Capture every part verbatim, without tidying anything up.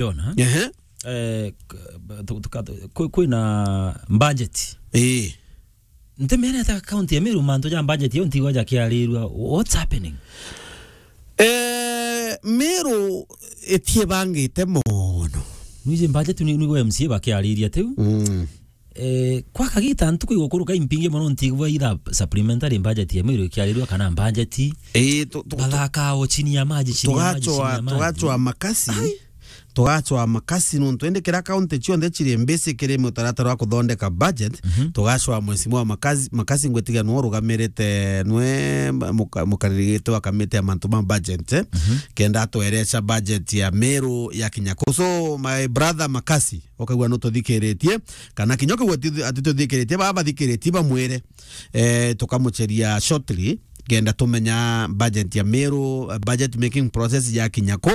Jona. Ehe. Eh, k-, tu-, tuka-, kwi-, kwina budget. Ii. Ntimenete county ya Meru mantu ja budget yo ntigwa jakiarirua. What's happening? Eh, Meru itiebangite mono. Nwiji budget ni, nigwe M C A bakiariria tiu? Mm. Eh, kwa kagita ntuku igukuruka impingi mono ntigwa either supplementary budget ya Meru ikiarirua kana budget. Ii, tu-, tu-, tu-, bathaka o chini ya maji, chini ya maji, chini tugachwa, ya maji. Tugachwa makasi. Ai. Tugacwaa makasi nontu indi kira kaunti cionthe ciri mbisi kiri mutaratara wa kuthondeka budget. Mhm. Tugacwaa mwecimu wa makasi, makasi ngwitiga nwe urugamirite nwe muka-, mukaririgite wa kamiti ya mantu ma budget, eh? Mhm. Kenda atwereca budget ya Meru ya kinya ku. So, my brother Makasi, ukaigua nututhikiritie, kana kinya ukaigua ati-, atituthikiritie, baba bathikiritie bamwire, eh, tukamucheria shortly. Kenda tumenya budget ya Meru, eh, budget making process ya kinya ku.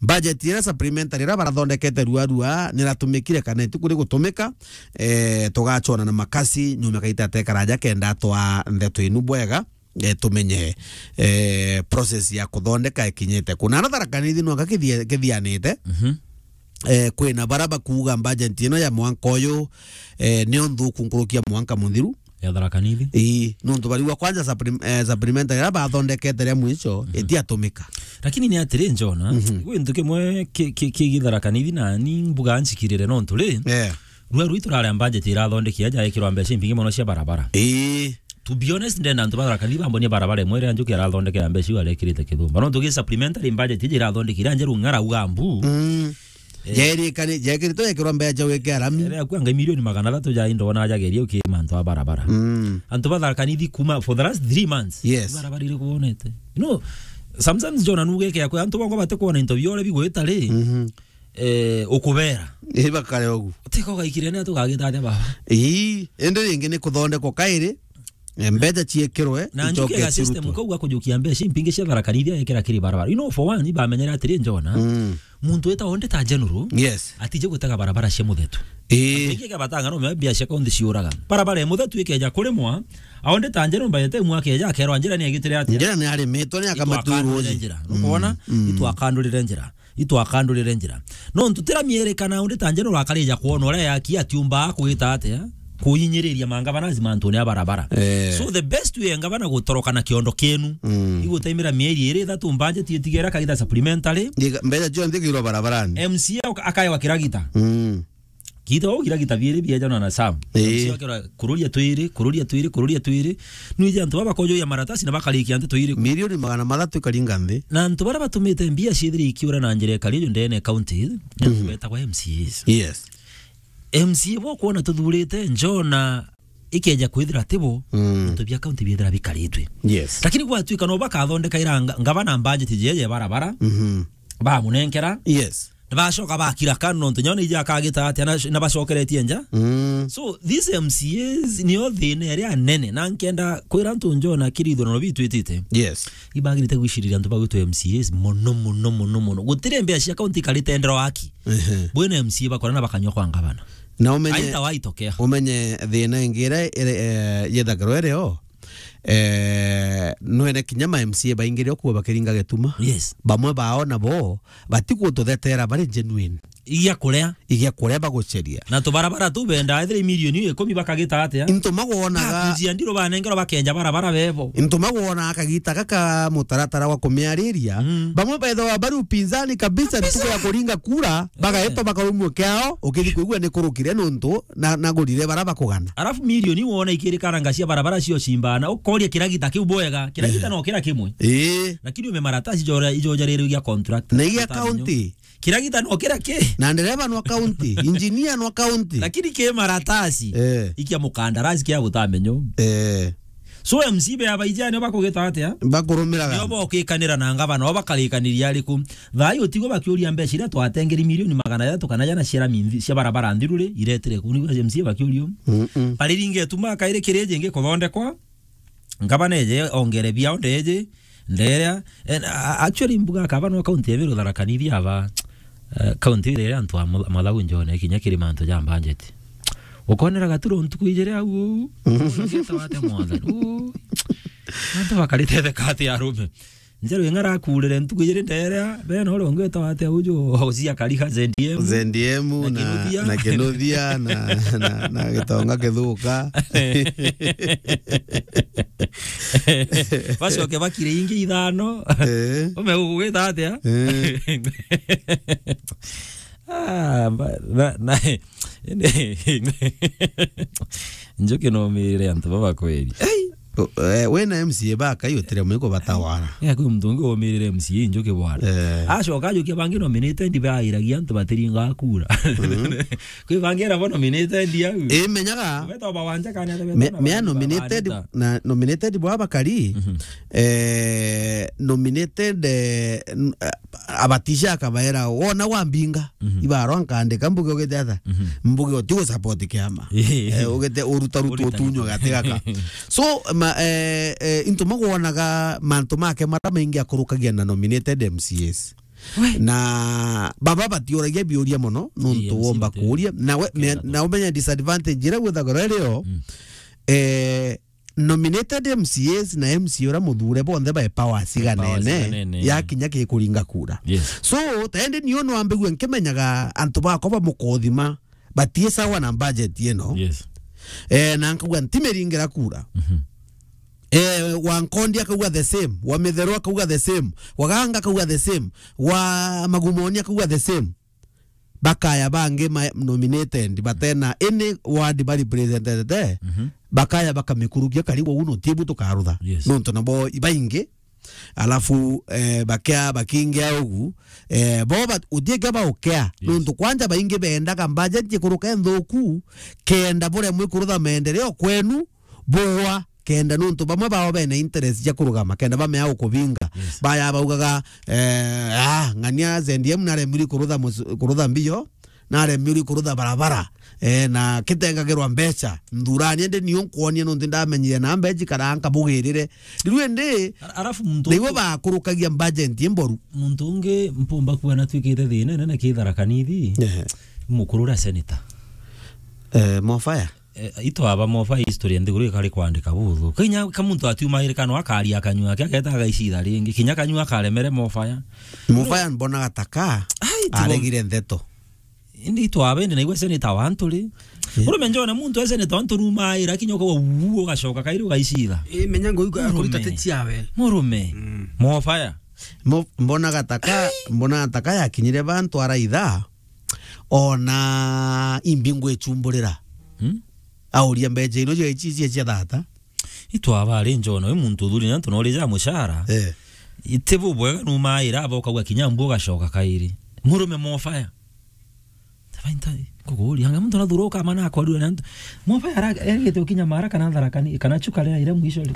Budget iria supplementary iria barathondekete rua rua, niratumikire kana itiku rigutumika, eh, tugacona na makasi, nyuma kaita atekaraja kenda twa ndeto inu bwega, eh, tumenye, eh, process ya kuthondeka ikinyite ku. Na na Tharaka Nithi nonga kithia-, kithianite. Mhm. Eh, kwina bara bakuuga budget ino ya mwanka uyu, eh, nio nthuku nkuruki ya mwanka muthiru. Ya Tharaka Nithi? Ii, nontu bariwa kwanja supplim-, eh, supplementary iria bathondekete ria mwicho, mhm, itiatumika. Lakini ni atiri, Njona, mhm, gwi ntu kimwe ki-, ki-, kigi Tharaka Nithi na ni mbuga nchikirire nontu ri, eh, rua rui turare budget irathondeki aja ikirwa mbeca impingi mono cia barabara. Ii. To be honest, ndenda antu ba Tharaka Nithi bambonie barabara imwe iria Njuki arathondekera mbeca iu arekirite kithumba. Nontu gi supplementary budget iji irathondeki iria njeru ng'ara uga mbu. Mm. Eh. Jairikani-, jaikiritwe jekirwa mbeca wike arami. Ere akua ngai milioni magana athatu ja indo na jageria uki mantu a barabara. Mm. Antu ba Tharaka Nithi kuma for the last three months. Yes. Barabara iri kuonete. You know, sometimes Jona nugeke akwa antu bongo bate kuona into biore bigwita ri. Mhm. Eh, ukubera. Ii, bakare ugu. Utiko gaikire ni atugagita atia baba? Ii, indi ringi ni kuthondekwa kairi, eh, mbeca ciekirwe, na Njuki icoke ega system cirutwe. Kau gakujukia mbeca impingi cia Tharaka Nithi ekira kiri barabara. You know, for one, ibamenyera atiri, Njona, mm, muntu wita onde ta general, yes, atije gutega barabara cia muthetu. Ii. Ingi ke batanga no mbia cia kaunti ciuraga. Barabara ya muthetu ikeja kurimwa, aonde ta general by the time akeja akerwa njira ni agitire atia? Njira ni arimitwe, ni akamatwirwo uji. Itwakandurire njira. Nukwona? Mm, mm. Itwakandurire njira. Itwakandurire njira. No ntutira mierikana undi ta njeno urakarija kwona uria yaki atiumba kugita atia kuinyiriria mangavana mantune ya barabara. Eh. So the best way ngavana gutoroka na kiondo kienu, mm, igutaimira mieri iri ithatu budget itigera kagita supplementary. Ndiga-, mbeca cionthe ikirwa barabarani. M C A aka-, akaewa kiragita. Mm. Gita ugira gita biiri bieja na Sam. Ii. M C A akera, kururia twiri, kururia twiri, kururia twiri. Nwije antu baba bakojoya maratasi na bakarikia nteto iri. Milioni magana mathatu ikaringa nthi. Na antu bara batumite mbia ciithire ikiura na njira ikari uju ndene county, mhm, betagwa M C As. Yes. M C A bo kwona tuthurite, Njona ikeja kwithira tibo, mm, into bia county biethira bikaritwe. Yes. Lakini gwatuika no bakathondeka ira nga-, ngavana budget jeje barabara. Mhm. Bamunenkera. Yes. Nibacoka bakira kando nontu nyona ija akagita atia na, na bacokeretie nja. Mm. So, these M C As nio thina iria nene, na nkenda kwira antu Njona kiri ithuurano bitwitite. Yes. Ibagirite gwiciriria antu bagwitwa M C As mono, mono, mono, mono. Gutiri mbia cia kaunti ikarite ndero aki. Ehe. Bwina M C A bakora na bakanywa kwa ngavana. Na umenye, aita waitokea. Umenye thina ingi iria iri, eh, yethagirwa irio, eh, nwene kinya ma M C A baingire okuo bakiringa gituma. Yes. Bamwe bao nabo batigututhetera bari genuine. Igia kuria. Igia kuria baguceria. Na tubarabara tu benda ethire milioni ikumi bakagita atia? Into magwonaga. Bakujia ndiro banengerwa bakenja barabara bebo. Into magwonaga kagita gaka mutaratara wa kumiariria. Mm. Bamwe bethagwa bari upinzani kabisa, kabisa, ntuku ya kuringa kura, bagaitwa, eh, bakarumua kiao, ukithi kuigua ni kurukire nontu na, na gurire bara bakugana. Alafu milioni wona ikirikana ngacia barabara cio cimbana, ukoria kiragita kiu bwega, kiragita, eh, no kira kimwe. Ii. Lakini ume maratasi jora, ijoja rero gia contract. Na igia county. Kiragita no kira ki? Na ndereva no county, engineer no county. Lakini ki maratasi. Eh. Ikia mukandarasi kia gutamenyo. Eh. So M C A be abaijani bakugita atia? Bakurumiraga. Nio bokikanira na ngavana, o bakalikaniria ariku? Thaai utigo bakiuria mbeca iria twatengeri milioni magana jathatu kana jana cia rami nthi-, cia barabara nthiru ri, iretire ku? Nigua M C A bakiuria u. Mm-mm. Bariringe tuma kairi kiri jingi kuthondekwa, ngavana eje ongere biao ndeje, nderia, and, a-, actually mbuga akaba no county ya Meru Tharaka Nithi aba, eh, county iria antu a Mutha-, Mathau Njone kinya kiri mantu ja budget. Ukonera gaturo ntuku ijiri au uu. Ugeta wate mwathani. Uu. Antu bakarite theka ati arume. Njeru ing'ara akurire ntuku ijiri ndeerea, bena uria ungi witagwa atia uju, Hosea Kariga, Z D M. Z D M na, na Kinuthia. Na Kinuthia, na, na, na Gitonga Kithuka. Bacoke bakire ingi ithano. Eh. Ume ugwita atia? Eh. Ah, ba-, na, na, Njuki no mirire antu baba kweri. Ei! O, eh, we na M C A ba Kai utire mwiko batawara. Ya, kwi muntu ungi umirire M C A Njuki bwana. Eh. Acoka ajukia bangi nominated bairagia antu batiringa kura. Mhm. Kwi bangi era bo nominated au. Eh, menyaga. Beta ba wanja kana ata beta Me-, na mea ba nominated, barita. Na nominated bwa bakari. Mhm. Eh, nominated, eh, n-, eh, abatisha akabaera, wona wambinga, mhm, ibarwa nkandika mbuge ugite atha? Mhm. Mbuge uti gu support kiama. Eh, ugite uruta rutu utunywa gati gaka. So, ma, eh, eh, into magwonaga mantu make mara maingi akurukagia na nominated M C As. We. Na baba batiuragia biuria mono, nontu womba kuuria. Na we, me-, na umenya disadvantage iria gwithagirwa irio, mm, eh, nominated M C As na M C A uria muthure bonthe bae power ciganene, power ciganene, ya kinya kikuringa kura. Yes. So, taende nio no ambigue nkimenyaga antu bakwa ba mukothima batie sawa na budget ino. Yes. Eh, na nkauga ntimiringira kura. Mhm. Eh, wa Nkondi akauga the same, wa Mitheru akauga the same, wa Ganga akauga the same, wa Magumoni akauga the same. Bakaya bangi ma nominated, batena any ward ba represented, mhm, bakaya bakamikurukia karibu uno tibu tukarutha. Yes. Nontu nabo ibaingi, alafu, eh, bakia, bakingia ugu, eh, bo ba-, utieke baukea. Yes. Nontu kwanja baingi bendaga budget ikuruka nthuku, kenda buremwe kurutha maendeleo kwenu, bugwa, kenda nontu bamwe bao bena interest cia kurugama, kenda bamea gukubinga. Yes. Baya baugaga, eh, ah, ng'ania Z D M naremiri kurutha mus-, kurutha mbio, naremiri kurutha barabara, eh, na kitengagirwa mbeca, nthurani indi niyo nkwonie nontu ndamenyire na mbeji kana nkabugirire. Riu indi, ara-, arafu muntu niwe ungi bakurukagia budget imboru. Muntu ungi mpumba kuona twikite thina nene ki Tharaka Nithi. Ehe. Mukuru uria senator. Eh, Mofaya. Eh, itwaba moba history nthiguru ikari kwandika buthu. Kinya ka muntu atiumaire kana akaria akanyua ake, ageta agaicitha ringi. Kinya kanyua akaremere mofaya. Mofaya mbonaga taka. Ai, tibo-, aregire ntheto. Indi itwaba indi naigua senator wa antu ri. Yeah. Urume njone muntu e senator wa antu rumaira kinya ukauga uu ugacoka kairi ugaicitha. Eh, menya ngo uga akurita teti yawe. Murume. Mm. Mofaya. Mo-, mbonaga taka, mbonaga taka yakinyire bantu araitha. Ona imbi ngwicumburira. Hmm? Auria mbeca ino cia ici cia, cia thata. Itwaba ari njona, wi muntu uthuri na antu nori ja mucara. Eh. Iti bubwega numaira aba ukauga kinya mbu ugacoka kairi. Murume mofaya. Tabainta, kukuria, anga muntu nathuru ukama na akorire na antu. Mofaya ara, erigite ukinya mara kana Tharaka Ni-, kana Chuka rira ire mwisho ri.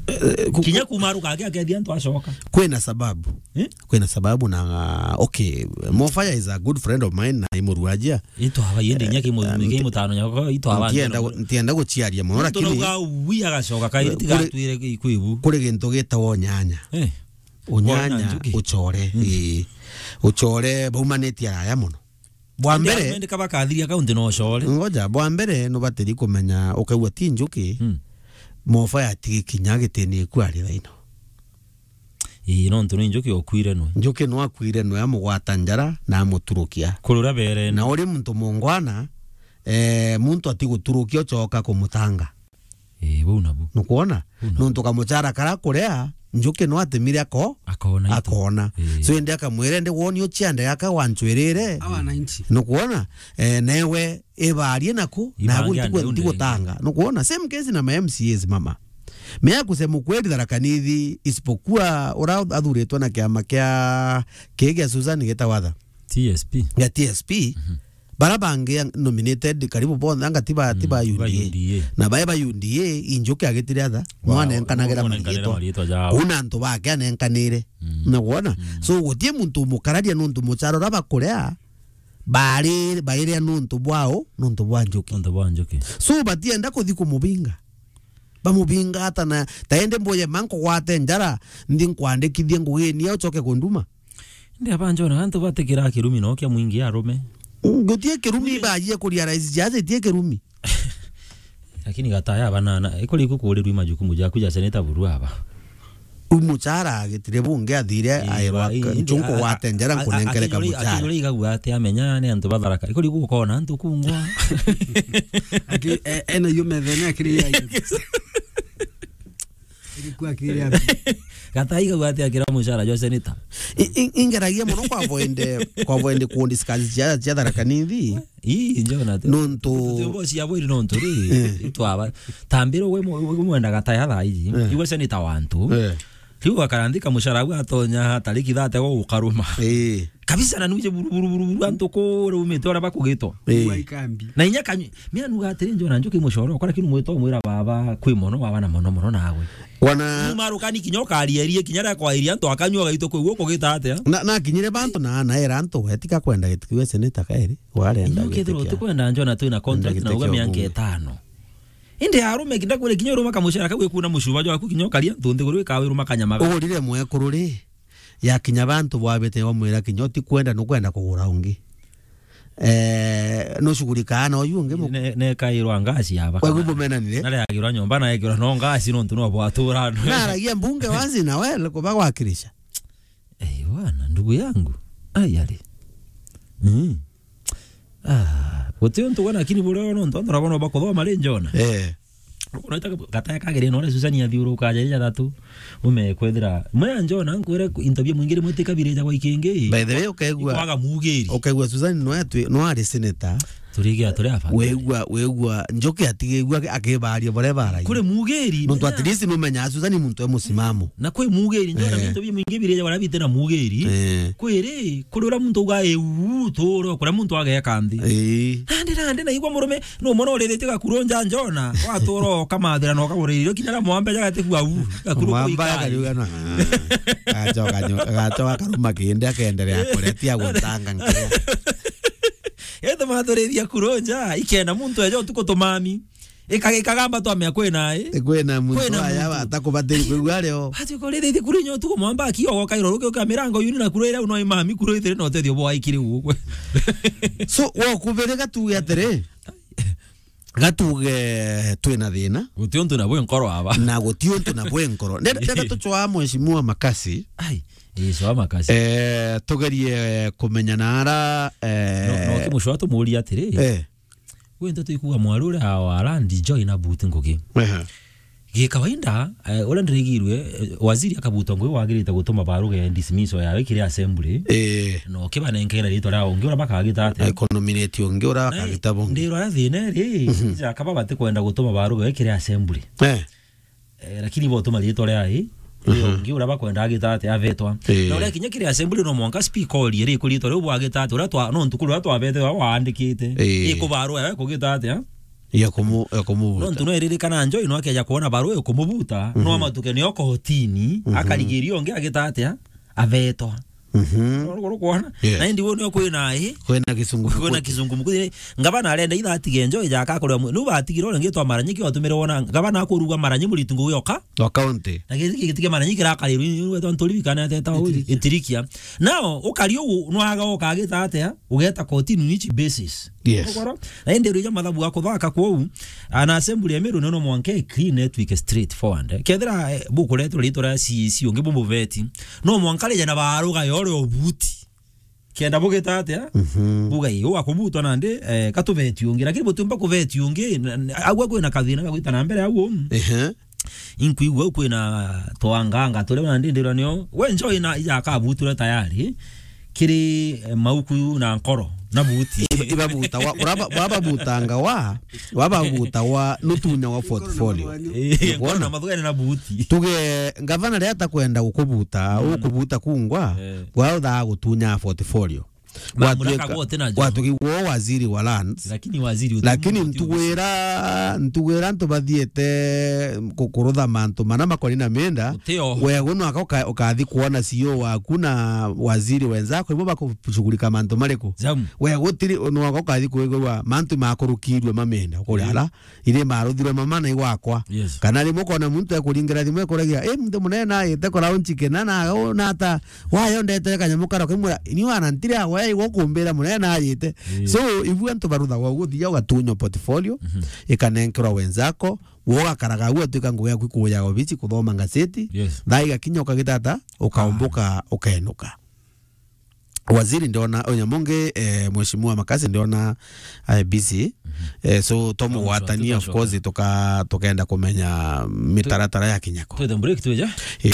Eh, ku-, kinya kuma aruka ake akethia antu acoka. Kwina sababu. Eh? Kwina sababu na, okay, Mofaya is a good friend of mine na imurwajia. Itwaba yende inya ki mu-, eh, ki nti-, mutano nyako, itwaba ntienda ntienda gu-, ntienda guciaria mono, lakini wi agacoka kairi, eh, tiga kuri-, twire ki-, kwibu. Kuri gintu gitagwo unyanya. Eh. Unyanya, ucore, mm, ii. Ucore, baumanitie araya mono. Bwa mbere, indi kabakathiria kaunti no ucore. Ngoja, bwa mbere, nubatiri kumenya, ukaigua ti njuki, mm, Mofaya atigi kinya gitini iku ari thaino. Ii, nontu ni njuki okuire nwe. Njuki no akuire nwe, amugwata njara na amuturukia. Kurura berene. Na uri muntu mungwana, eh, muntu atiguturukia ucoka kumutanga. Eh, bau nabu. Nukwona? Bau nabu. Nontu kamucara kara kuria, njuki no atemire ako-, akona itu. Akona. Eh. So, indi akamwira, indi woni uciande gaka wancwirire. Awa ninety. Nukwona? Eh, newe ibarie naku, ibange naku ntigu-, ande unde ntigutanga. Nukwona? Same case na ma M C As, mama. Mea kusema ukweli, Tharaka Nithi, isipokuwa ura athuritwe na kiama kia, kii gia Susan gitawatha. T S P. Gia T S P. Mhm. Bara bangi ang-, nominated karibu bonthe anga ti ba, ti ba, mm, U D A. Ba U D A. Na bae ba U D A, injuki agitire atha. Wow. Mwanenkanagira mariitwa. Mwanenkanagira mariitwa jao. Kuna antu bake anenkanire. Mm. Na wona? Mm. So, gutie muntu umukararia nontu mucara uria bakuria, bari, bairia nontu bwao, nontu bwa njuki. Nontu bwa njuki. So, batienda kuthi kumubinga. Bamubinga ata na, taende mboye manko gwate njara, nthi nkwandikithie ngugini au ucoke kunduma. Ndi abanjona antu batikira kirumi no kia mwingi arume. Gutie kirumi. Baajie kuria rais jaje tie kirumi. Lakini gataya banana, ikuri kukurirwi majukumu jaku ja seneta buru aba. U muchara agitire bungi athire. Ii, airwa ba-, ii, ii, nchunku a-, a-, gwate njara a-, a-, nkunenkere ka akinyuri-, muchara. Akinyuri igagua ati amenya ni antu batharaka. Ikuri gukona antu kungwa. Aki-, e-, ena yo methene akiri ya. Ilikuwa akiri ya. Gata igagua ati akira muchara jwa seneta. I-, i-, ingeragia muno kwa voende, kwa voende ku discuss cia, cia Tharaka Nithi. Ii, njona tu. Nontu tutimbo cia bwiri nontu ri, eh, itwaba. Tambiro we mu-, we mwenda Gata ya thaa iji. Eh. Igwe seneta wantu. Eh. Riu akaranthika muchara au atonya tariki thate go ukaruma. Ii. Kabisa na nuje buru, buru, buru, buru, antu kure umite ora bakugitwa. Ii. Wa ikambi. Na inya kanyu, mi anuga atiri njona njuki muchoro, kora kinu mwito mwira baba kwi mono, baba na mono, mono nawe. Wana. Numa rukani kinya ukariarie, kinya ria kwairia antu akanyua gaito kwi guo kugita atia? Na, na kinyire bantu na, na era antu, etika kwenda giti kiu seneta kairi, warenda. Inya ukethirwa giti kia utikwenda njona twina contract na uga mianka itano. Indi arume kinda kure kinya uruma kamuchara kau ikuna muchuba jwaku kinya ukaria ntu nthiguru ikawe uruma kanyama ga. Ugurire mwekuru ri, ya kinya bantu bwabite wamwira kinya utikwenda nukwenda kugura ungi. Eh, nushugurikaa na uyu ungi mu- Ne, ne kairwa ngasi yaba. Kwa hivyo bumenanire? Nare agirwa nyomba na ekirwa no ngasi nontu no bwatura. Naragia mbunge wazi na we kuba gwakirisha. Eh, bwana, ndugu yangu. Ai, ari. Mm. Ah, guti untu gwa, lakini buria no ntu ndora bono bakuthoma ri njona. Eh. Unaita Gata ya kagere no Susan athiuruka aja ja thatu. Ume kwethira. Mwe njona nkwire interview mwingire mwitikabiria gwa ikingi. By the way, ukaigua, kwaga mugiri. Ukaigua Susan no atwi, no ari senator. Turigia turi afadhali. Wegua, wegua, njoke atigegua akibaria boria barai. Kuri mugiri. Nontu at least numenya Susan ni muntu e musimamo. Na kwi mugiri, njona, eh, mintu bimwingi biri ja bara bite na mugiri. Eh. Kwiri, kuri ura muntu uga, "Uu, turo, kuria muntu ageka nthi." Eh. Nandi, nandi, naigua murume, no mwana uriritie gakuru nja njona, watura ukamathira na ukagurira irio kinya na mwamba ja gati kwa u, gakuru. Mwamba kuikai. Akariuga na, ah, gacoka nyo-, gacoka karuma kindi akenderea kuria, tia guntanga nkinya. Ete maturithia kuru nja, ikenda muntu eja utuku tumami. Ika-, ikagamba twamea kwina, eh? Kwina muntu kwina aya muntu atakubatiri kwigua ario. Ati ko rithithi kuri nyo tuko mwamba akio go kairo ruke uka mirango yuni na kuru ira no imami kuru itire no tethio bwa ikire ugwe. So, wo kubere gatuge atiri, gatuge twina thina. Guti untu na bwe nkoro aba. Na guti untu na bwe nkoro. Ndenda, ndenda tucwa mheshimiwa Makasi. Ai, ii, cwa Makasi. Eh, tugerie kumenya na ara, eh, no, no kimucwa tumuria atiri. Eh. Gwe nteto ikuga mwaru uria wa land join abute ngugi. Ehe. Gi kawaida, eh, uria ndirigirwe, eh, waziri akabutwa ngugi wagirite gutuma baruga ya dismissal yawe kiri assembly. Eh. No kibanenkera ritwa ria ungi uria bakagita atia? Iko nominate ungi uria bakagita bungi. Ndirwa aria thina ri, mhm, ja kaba batikwenda gutuma baruga kiri assembly. Eh. Eh, lakini botuma ritwa ria i, mhm, ri ungi uria bakwenda agita atia avetwa. Eh. Na uria kinya kiri assembly no mwanka speaker orie ri ku ritwa riu bwagita atia, uria twa, no ntuku uria twabete uria waandikite. Eh. Ikubarua yawe kugita atia? Ya kumu-, ya kumubuta. No ntu no iririkana Njoi no akeja kuona barua ikumubuta, no, mhm, amatuke nio kotini, mhm, akarigiria ungi agita atia? Avetwa. Mhm. Uru-, uru kwona? Yeah. Na indi wo nio kwina i? Kwina kisungu mukuthi. Kwina kisungu mukuthi. Ngavana arenda itha atige Njoi ja akakorwa mu-, nu batigirwo ringi twa Maranyiki watumire wona ngavana akuruga Maranyi muritu ngugi oka. Wa county. Na giti giti kia Maranyi kirakarirwe ni wetwa nturi bikana teta u. Itirikia. Itirikia. Nao ukari ugu nwaga ukagita atia? Ugeta kotini on which basis? Yes. Ugoro? Na indi rija mathabu ga kuthaka kwou, ana assembly ya Meru no mwanka clean network straight forward. Kethira, eh, bukuretwo ritwa ria C E C ungi bumuveti. No mwanka rija na baruga yore obuti. Kenda bugita atia? Mhm. Buga ii, wakubutwa nandi, eh, katubeti ungi. Lakini butumba kubeti ungi, na, na, agwa kwina kathina gagwita na mbere au. Ehe. Inkwigua kwina twanganga turia nandi ndirwa nio. We Njoi na ija akabutura tayari. Kiri, eh, mauku na nkoro, na buti. Iba-, ibabuta wa, uraba-, wababutanga wa, wababuta wa, nutunya wa portfolio. Eh, nkoro na mathugene na buti. Tuge, ngavana ria atakwenda gukubuta, mm, ukubuta kungwa, eh, gwa uthaa gutunya portfolio. Gwatuika-, gwatuki wo waziri wa lands. Lakini waziri uti-, lakini uti-, ntugwira, ntugwira antu bathiete ku-, kurutha mantu mana makoni na mienda. Utio. Wego nwaka uka-, ukathi kuona C E O waku na waziri wenzako, ibo bakushughulika mantu mariku? Zamu. We gutiri, nwaka ukathi kwigua mantu makurukirwe ma mienda, kuri, mm, ala iri maruthirwe mama na igwakwa. Yes. Kana rimwe ukona muntu ekuringira thimu ekuragia, "Eh, muntu munene naite kora unchike na, na, na ata, wayo ndetera kanyamu karo kimwe, ni wana ntire awe." Ai, gukumbira munene najite. Eh. So, ibu antu baruthagwa uguo, thiaga ugatunywa portfolio, ikanenkerwa wenzako, wogakaraga uguo, atuika ngugi yaku kuja obici kuthoma ngaceti. Yes. Thaa igakinya ukagita ata, ukaumbuka, ukenuka. Waziri ndiona, onya mungi, eh, Mheshimiwa Makasi ndiona, eh, busy. Eh, so, tomugwatania, of course, tuka-, tukaenda kumenya mitaratara ya kinyako. Twete break, twija. Eh.